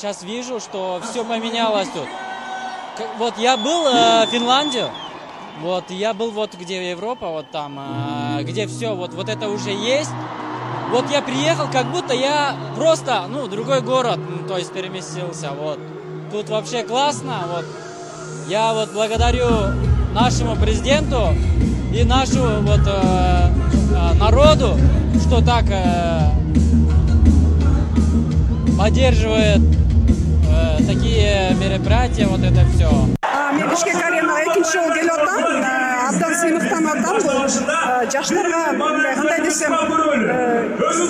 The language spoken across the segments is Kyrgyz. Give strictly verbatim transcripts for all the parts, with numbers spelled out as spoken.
сейчас вижу, что все поменялось тут. Вот я был э, в Финляндии, вот я был вот где Европа, вот там, э, где все, вот, вот это уже есть. Вот я приехал, как будто я просто, ну, другой город, ну, то есть переместился, вот. Тут вообще классно, вот. Я вот благодарю нашему президенту и нашему вот э, э, народу, что так э, поддерживает э, такие мероприятия, вот это все. Мен Бишкек аренага экинчи жолу келип атам. Абдан сыймыктанып атам. Жаштарга мындай кандай десем,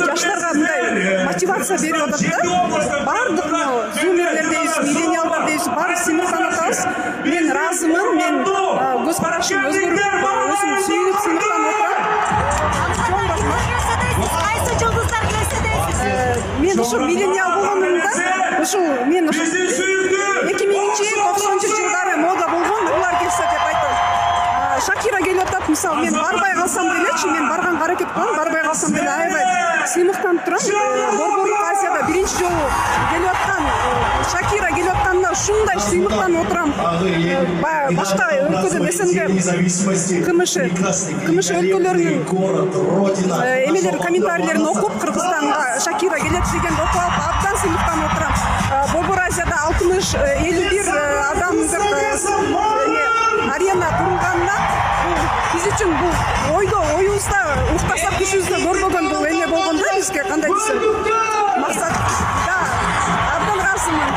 жаштарга мындай мотивация берип атат да. Бардык зумерлер дейбиз, миллениалдар дейбиз, баары сыймыктанып атабыз. Мен ыраазымын, мен көз карашым өзгөрүп, өзүм сүйүнүп сыймыктанып атам. Кайсы жылдыздар келсе дейсиз? Мен ушул миллениал болгонумда, ушул мен ушул эки миңинчи токсонунчу жылдары мода болгон улар келсе деп айтам. Шакира келип атат, мисалы мен барбай калсам делечи, мен барганга аракет кылам, барбай калсам деле аябай сыймыктанып турам. Борборлук Азияда биринчи жолу келип аткан Шакира келип атканда ушундай сыймыктанып отурам. Башка өлкөдөн СНГ, КМШ, КМШ өлкөлөрүнүн эмелер комментарийлерин окуп, Кыргызстанга Шакира келет дегенди окуп алып, абдан сыймыктанып отурам. Борбор Азияда алтымыш элүү бир адамдык арена турганына биз үчүн бул ойдо оюбузда уктасак түшүбүздө көрбөгөн бул эме болгон да бизге, кандай десем, максат. Да, абдан ыраазымын.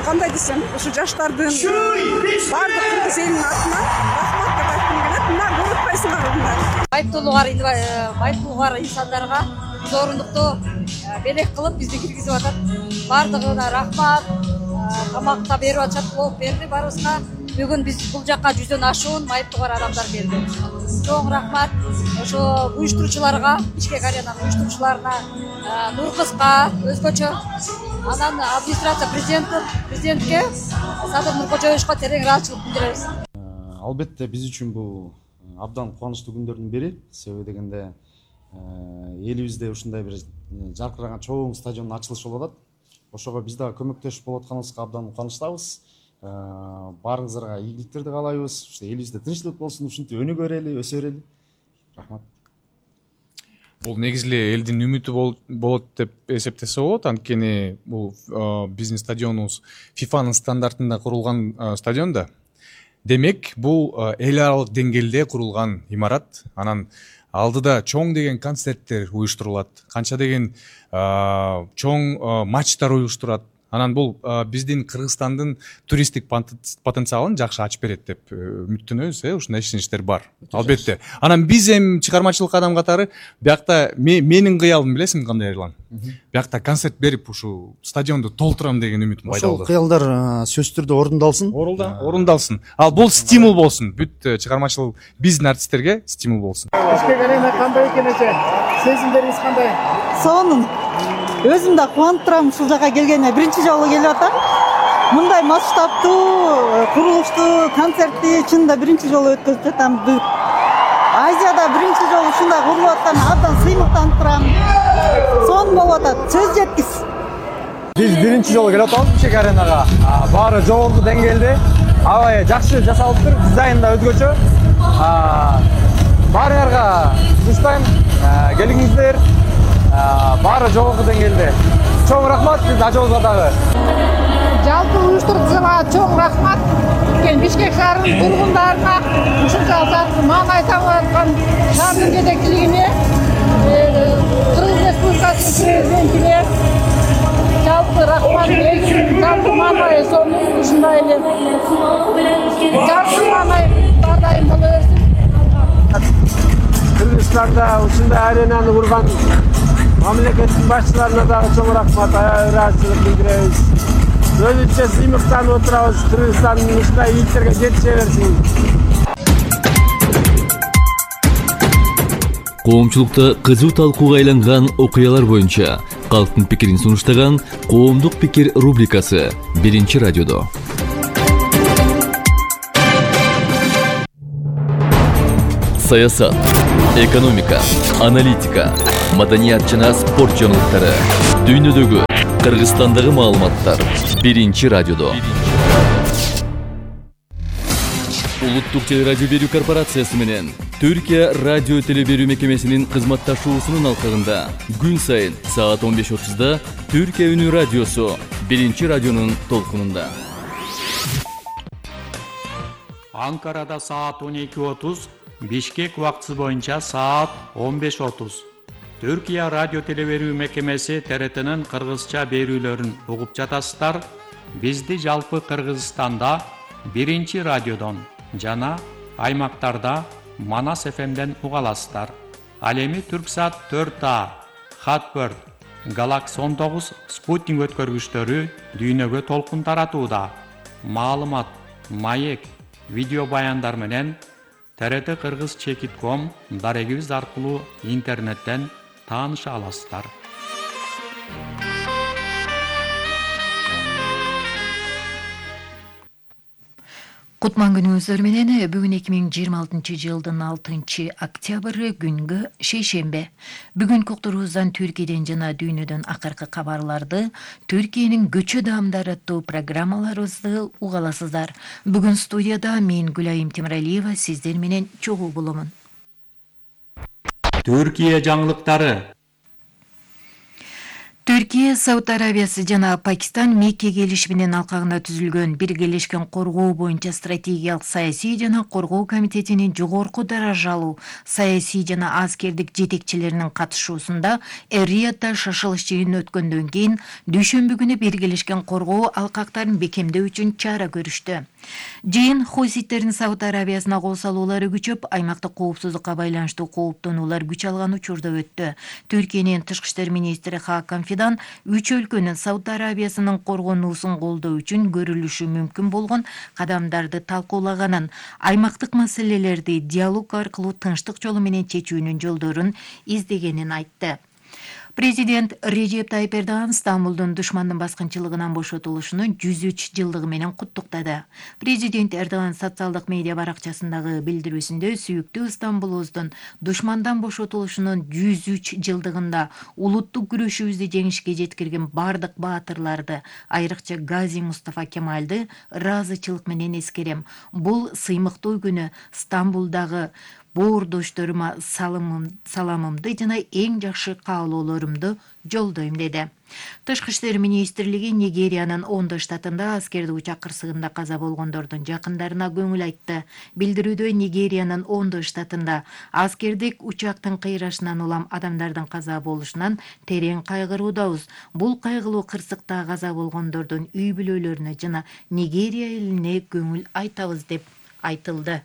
Кандай десем, ушу жаштардын баардык кыргыз элинин атынан рахмат деп айткым келет. Мына көрүп атпайсыңарбы мына. Байыптуулугар, байыптуулугар инсандарга зорунукту белек кылып бизди киргизип атат. Баардыгына рахмат. Тамакта берип атышат, болуп берди баарыбызга. Бүгүн биз бул жакка жүздөн ашуун майыптуулугар адамдар келди. Чоң рахмат ошо уюштуруучуларга, Бишкек аренанын уюштуруучуларына, Нуркызга өзгөчө, анан администрация президенти, президентке, Садыр Нуркожоевичке терең ыраазычылык билдиребиз. Албетте биз үчүн бул абдан кубанычтуу күндөрдүн бири. Себеби дегенде элибизде ушундай бир жаркыраган чоң стадиондун ачылышы болуп атат. Ошого биз дагы көмөктөшүп болуп атканыбызга абдан кубанычтабыз. Баарыңыздарга ийгиликтерди каалайбыз. Уште элибизде тынчтык болсун, ушинтип өнүгө берели, өсө берели. Рахмат. Бул негизи эле элдин үмүтү болот деп эсептесе болот. Анткени бул биздин стадионубуз фифанын стандартында курулган стадион да. Демек, бул эл аралык деңгээлде курулган имарат. Анан алдыда чоң деген концерттер уюштурулат, канча деген чоң матчтар уюштурат. Анан бул биздин Кыргызстандын туристтик потенциалын жакшы ачып берет деп үмүттөнөбүз, э, ушундай ишеничтер бар. Албетте. Анан биз эми чыгармачылык адам катары биякта менин кыялым билесиңби кандай Эрлан? Биякта концерт берип ушу стадионду толтурам деген үмүтүм пайда болду. Ошол кыялдар сөзсүз түрдө орундалсын. Орундалсын. Ал бул стимул болсун. Бүт чыгармачылык биздин артисттерге стимул болсун. Бишкек арена кандай экен эже? Сезимдериңиз кандай? Сонун. Өзүм да кубанып турам ушул жака келгениме. Биринчи жолу келип атам. Мындай масштабтуу курулуштуу концертти чынында биринчи жолу өткөзүп жатам. Азияда биринчи жолу ушундай курулуп аткан абдан сыймыктанып турам. Сонун болуп атат. Сөз жеткис. Биз биринчи жолу келип атабыз Бишкек аренага. Баары жогорку деңгээлде. Аябай жакшы жасалыптыр. Дизайн да өзгөчө. Баарыңарга сунуштайм. Келиңиздер. Баары жогорку деңгээлде. Чоң рахмат биз ажообузга дагы. Жалпы уюштуруучуга чоң рахмат. Бишкек шаарынын тургундарына, ушунча маанай табып аткан шаардын жетекчилигине, Кыргыз Республикасынын президентине жалпы рахмат. Жалпы маанай сонун ушундай эле. Жалпы маанай ар дайым боло берсин. Кыргызстанда ушундай аренаны курган мамлекеттин башчыларына дагы чоң рахмат, ыраазычылык билдиребиз. Өзүнчө сыймыктанып отурабыз. Кыргызстандын ушундай ийгиликтерге жетише берсин. Коомчулукта кызуу талкууга айланган окуялар боюнча калктын пикирин сунуштаган Коомдук пикир рубрикасы биринчи радиодо. Саясат, экономика, аналитика, маданият жана спорт жаңылыктары, дүйнөдөгү Кыргызстандагы маалыматтар биринчи радиодо. Улуттук телерадио берүү корпорациясы менен Түркия радио телеберүү мекемесинин кызматташуусунун алкагында күн сайын саат он беш отузда Түркия үнү радиосу биринчи радионун толкунунда. Анкарада саат он эки отуз, Бишкек убактысы боюнча саат он беш отуз. Түркия радио телеберүү мекемеси Т Р Т'нин кыргызча берүүлөрүн угуп жатасыздар. Бизди жалпы Кыргызстанда биринчи радиодон жана аймактарда Манас эф эмден уга аласыздар. Ал эми Түрксат төрт А, Хатбird, Galaxy он тогуз спутник өткөргүчтөрү дүйнөгө толкун таратууда. Маалымат, маек, видео баяндар менен Т Р Т Кыргыз чекит точка ком дарегибиз аркылуу интернеттен тааныша аласыздар. Кутман күнүңүздөр менен бүгүн эки миң жыйырма алтынчы жылдын алтынчы октябры күнгө шейшембе. Бүгүнкү уктуруубуздан Түркияден жана дүйнөдөн акыркы кабарларды, Түркиянын көчө даамдары аттуу программаларыбызды уга аласыздар. Бүгүн студияда мен Гүлайым Темиралиева сиздер менен чогуу боломун. Түркия жаңылыктары. Түркия, Сауд Арабиясы жана Пакистан Мекке келишиминин алкагында түзүлгөн Биргелешкен коргоо боюнча стратегиялык саясий жана коргоо комитетинин жогорку даражалуу саясий жана аскердик жетекчилеринин катышуусунда Эр-Риядда шашылыш жыйын өткөндөн кийин дүйшөмбү күнү Биргелешкен коргоо алкактарын бекемдөө үчүн чара көрүштү. Жыйын хуситтердин Сауд Арабиясына кол салуулары күчөп, аймактык коопсуздукка байланыштуу кооптонуулар күч алган учурда өттү. Түркиянын тышкы иштер министри Хакан Фидан үч өлкөнүн Сауд Арабиясынын коргонуусун колдоо үчүн көрүлүшү мүмкүн болгон кадамдарды талкуулаганын, аймактык маселелерди диалог аркылуу тынчтык жолу менен чечүүнүн жолдорун издегенин айтты. Президент Режеп Тайип Эрдоган Стамбулдун душмандын баскынчылыгынан бошотулушунун жүз үч жылдыгы менен куттуктады. Президент Эрдоган социалдык медиа баракчасындагы билдирүүсүндө сүйүктүү Стамбулубуздун душмандан бошотулушунун жүз үч жылдыгында улуттук күрөшүбүздү жеңишке жеткирген бардык баатырларды, айрыкча Гази Мустафа Кемалды ыраазычылык менен эскерем. Бул сыймыктуу күнү Стамбулдагы боордошторума саламымды жана эң жакшы каалоолорумду жолдойм деди. Тышкы иштер министрлиги Нигериянын Ондо штатында аскердик учак кырсыгында каза болгондордун жакындарына көңүл айтты. Билдирүүдө Нигериянын Ондо штатында аскердик учактын кыйрашынан улам адамдардын каза болушунан терең кайгыруудабыз. Бул кайгылуу кырсыкта каза болгондордун үй бүлөлөрүнө жана Нигерия элине көңүл айтабыз деп айтылды.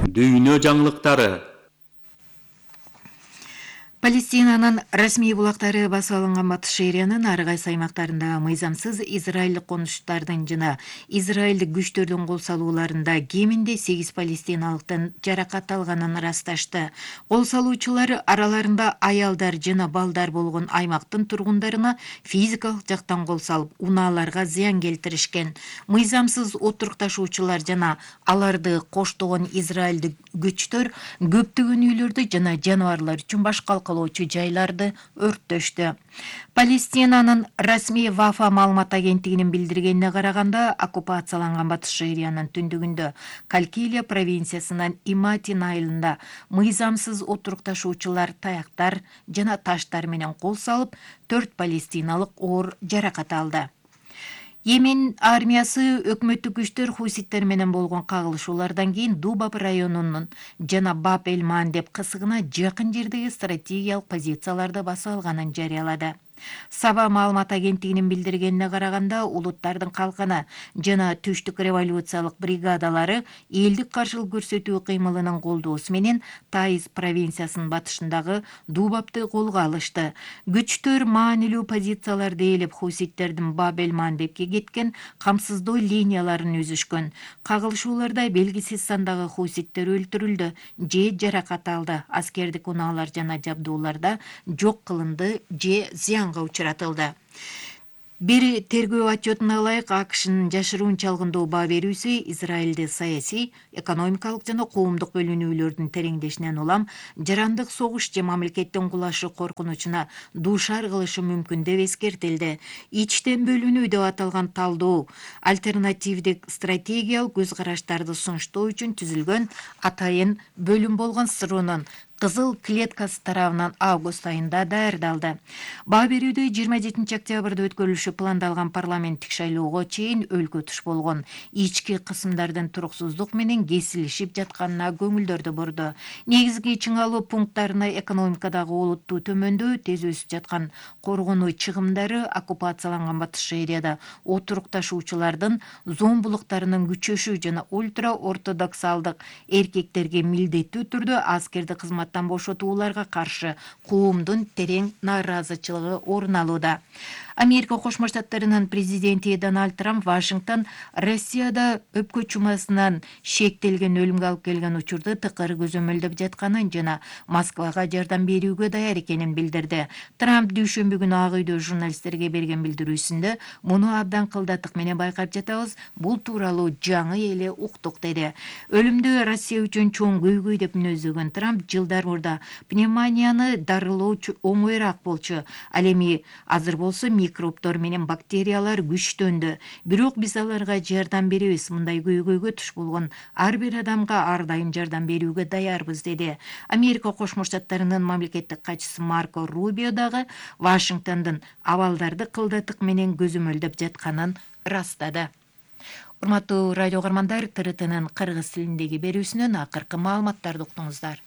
Дүйнө жаңылыктары. Палестинанын расмий булактары басып алынган Батыш Шериянын ар кайсы аймактарында мыйзамсыз израилдик конуштардын жана израилдик күчтөрдүн кол салууларында кеминде сегиз палестиналыктын жаракат алганын ырасташты. Кол салуучулар араларында аялдар жана балдар болгон аймактын тургундарына физикалык жактан кол салып, унааларга зыян келтиришкен. Мыйзамсыз отурукташуучулар жана аларды коштогон израилдик күчтөр көптөгөн үйлөрдү жана жаныбарлар үчүн башка жайларды өрттөштү. Палестинанын расмий Вафа маалымат агенттигинин билдиргенине караганда, оккупацияланган Батыш Шериянын түндүгүндө Калкилия провинциясынын Иматин айылында мыйзамсыз отурукташуучулар таяктар жана таштар менен кол салып, төрт палестиналык оор жаракат алды. Йемен армиясы өкмөттүк күчтөр хуситтер менен болгон кагылышуулардан кийин Дубаб районунун жана Баб-эль-Ман деп кысыгына жакын жердеги стратегиялык позицияларды басып алганын жарыялады. Саба маалымат агенттигинин билдиргенине караганда, улуттардын калканы жана түштүк революциялык бригадалары элдик каршылык көрсөтүү кыймылынын колдоосу менен Таиз провинциясынын батышындагы Дубабты колго алышты. Күчтөр маанилүү позицияларды ээлеп хуситтердин Баб-эль-Мандепке кеткен камсыздоо линияларын үзүшкөн. Кагылышууларда белгисиз сандагы хуситтер өлтүрүлдү же жаракат алды. Аскердик унаалар жана жабдууларда жок кылынды же зыянга учуратылды. Бир тергөө отчетуна ылайык АКШнын жашыруун чалгындоо баа берүүсү Израилде саясий, экономикалык жана коомдук бөлүнүүлөрдүн тереңдешинен улам жарандык согуш же мамлекеттин кулашы коркунучуна дуушар кылышы мүмкүн деп эскертилди. Ичтен бөлүнүү деп аталган талдоо альтернативдик стратегиялык көз караштарды сунуштоо үчүн түзүлгөн атайын бөлүм болгон СРУнун Кызыл клеткасы тарабынан август айында даярдалды. Баа берүүдө жыйырма жетинчи октябрда өткөрүлүшү пландалган парламенттик шайлоого чейин өлкө туш болгон ички кысымдардын туруксуздук менен кесилишип жатканына көңүлдөрдү бурду. Негизги чыңалуу пункттарына экономикадагы олуттуу төмөндөө, тез өсүп жаткан коргонуу чыгымдары, оккупацияланган Батыш Шаарияда отурукташуучулардын зомбулуктарынын күчөшү жана ультра ортодоксалдык эркектерге милдеттүү түрдө аскердик кызмат бошотууларга каршы коомдун терең нааразычылыгы орун алууда. Америка Кошмо Штаттарынын президенти Дональд Трамп Вашингтон Россияда өпкө чумасынан шектелген өлүмгө алып келген учурду тыкыр көзөмөлдөп жатканын жана Москвага жардам берүүгө даяр экенин билдирди. Трамп дүйшөмбү күнү Ак үйдө журналисттерге берген билдирүүсүндө муну абдан кылдаттык менен байкап жатабыз, бул тууралуу жаңы эле уктук деди. Өлүмдү Россия үчүн чоң көйгөй деп мүнөздөгөн Трамп жылдар мурда пневмонияны дарылоо оңоюраак болчу. Ал эми азыр болсо микробдор менен бактериялар күчтөндү. Бирок биз аларга жардам беребиз. Мындай көйгөйгө туш болгон ар бир адамга ар дайым жардам берүүгө даярбыз деди. Америка Кошмо Штаттарынын мамлекеттик катчысы Марко Рубио дагы Вашингтондун абалдарды кылдаттык менен көзөмөлдөп жатканын ырастады. Урматтуу радио каармандар, ТРТнын кыргыз тилиндеги берүүсүнөн акыркы маалыматтарды уктуңуздар.